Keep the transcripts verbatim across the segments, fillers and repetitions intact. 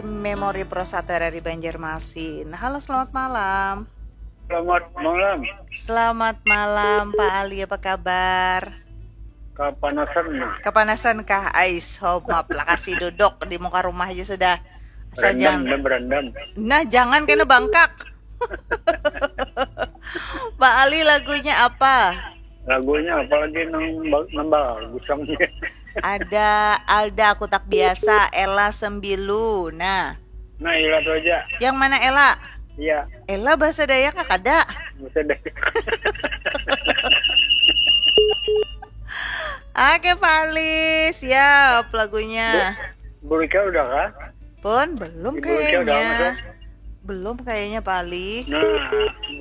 Memori Pro satu R R I Banjarmasin. Halo, selamat malam. Selamat malam. Selamat malam, Pak Ali, apa kabar? Kapanasan. Kapanasan kah? Ais, hop, maaf lah, kasih duduk di muka rumah aja sudah. Asal Berendam, jangan. Dah berendam. Nah, jangan kena bangkak. Pak Ali, lagunya apa? Lagunya apalagi nang ba- nang bagus nang. Ada Alda, Aku Tak Biasa, Ella Sembilu. Nah, Nah, ilah tu aja. Yang mana Ella? Iya, Ella bahasa Dayak kah? Kada. Bisa deh. Oke, Pak Ali, siap lagunya. Burika udah kah? Pun belum Ibu Rika udah kayaknya. masuk? Belum kayaknya, Pak Ali. Nah,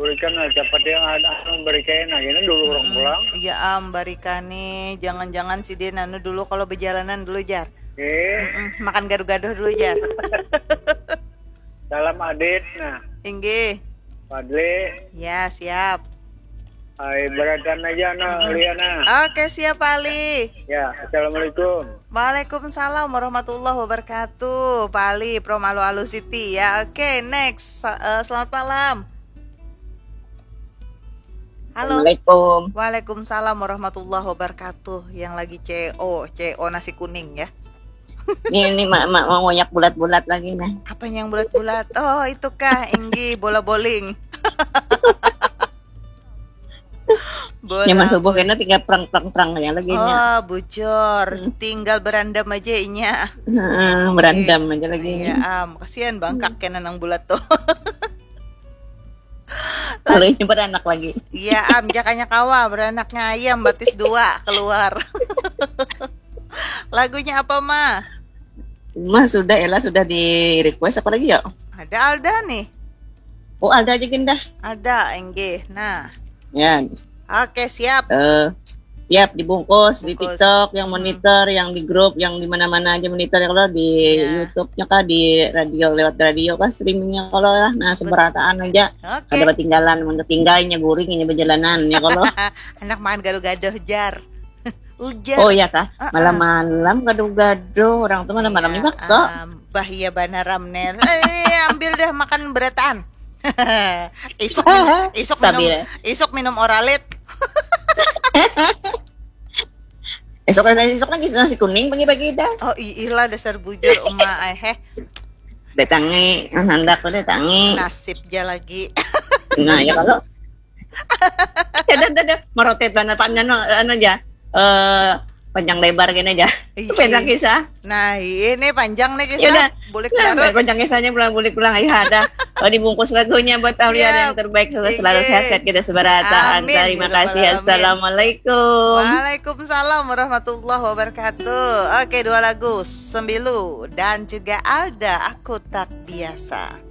berikan lah cepat yang ada anu berikan nah ini dulu orang pulang. Iya, am, barika nih. Jangan-jangan si dia anu dulu kalau berjalanan dulu, Jar. Eh, Mm-mm, makan gaduh-gaduh dulu, Jar. Salam Adit nah. Inggih. Fadli, Ya, siap. Ay, beratan aja no Liana. Oke, siap, Pak Ali. Ya, assalamualaikum. Waalaikumsalam warahmatullahi wabarakatuh. Pak Ali from Alu Alu City ya. Oke, next. Sa- eh, selamat malam. Halo. Assalamualaikum. Waalaikumsalam warahmatullahi wabarakatuh. Yang lagi C O, C O nasi kuning ya. Ini ini mak mak mau ngoyak bulat-bulat lagi nah. Apa yang bulat-bulat? Oh, itu kah? Inggi bola bowling. Bola Nyaman subuh bowling. Kena tinggal perang perang perang ya lagi nya. Oh, bucor. Tinggal berandam aja inya. Heeh, berandam aja lagi Iya, nya. Am, kasihan bangkak kena nang bulat tuh. Kalau ini beranak lagi. Iya, Am, jakanya kawa beranaknya ayam batis dua keluar. Lagunya apa, Ma? Mah sudah Ella sudah di request apa lagi ya? Ada Alda nih. Oh Alda aja gin dah. Ada, Inggih. Nah, Ya, oke, siap. eh siap dibungkus di Bungkus. TikTok, yang monitor, yang di grup, yang di mana-mana aja monitor ya kalau di Ya. YouTube-nya kah, di radio lewat radio kah streamingnya kalau lah, nah seberataan aja. Oke. Kada ketinggalan, mun ketinggalnya guring ini perjalanan ya kalau. Anak makan gaduh-gaduh, Jar. Ujar. Oh iya kah? Heeh. Malam-malam gaduh-gaduh, orang tuh malam-malam Iya, ini bakso. Am, bah iya banar, Am, nih. Eh, ambil dah makan berataan. Isuk minum, isuk minum, Stabil. Isuk minum Oralit. Esok ada esok lagi nasi kuning pagi-pagi dah. Oh, iilah dasar bujur uma ai heh. Datangi, handak tuh datangi. Nasib ja lagi. Nah ya kalau ya dah dah dah merotet banget panjang anu aja. Eh panjang lebar gini aja. Iya. Pendek kisah. Nah, ini panjang nih Ya udah. kisah. Bulik Nah, larut. Panjang kisahnya pulang bulik pulang ya ada. Oh, dibungkus lagunya buat Aulia Siap. yang terbaik selalu sehat, Inggih. Kita seberataan. Amin. Terima kasih. Alamin. Assalamualaikum. Waalaikumsalam warahmatullahi wabarakatuh. Oke, dua lagu, Sembilu dan juga Alda, Aku Tak Biasa.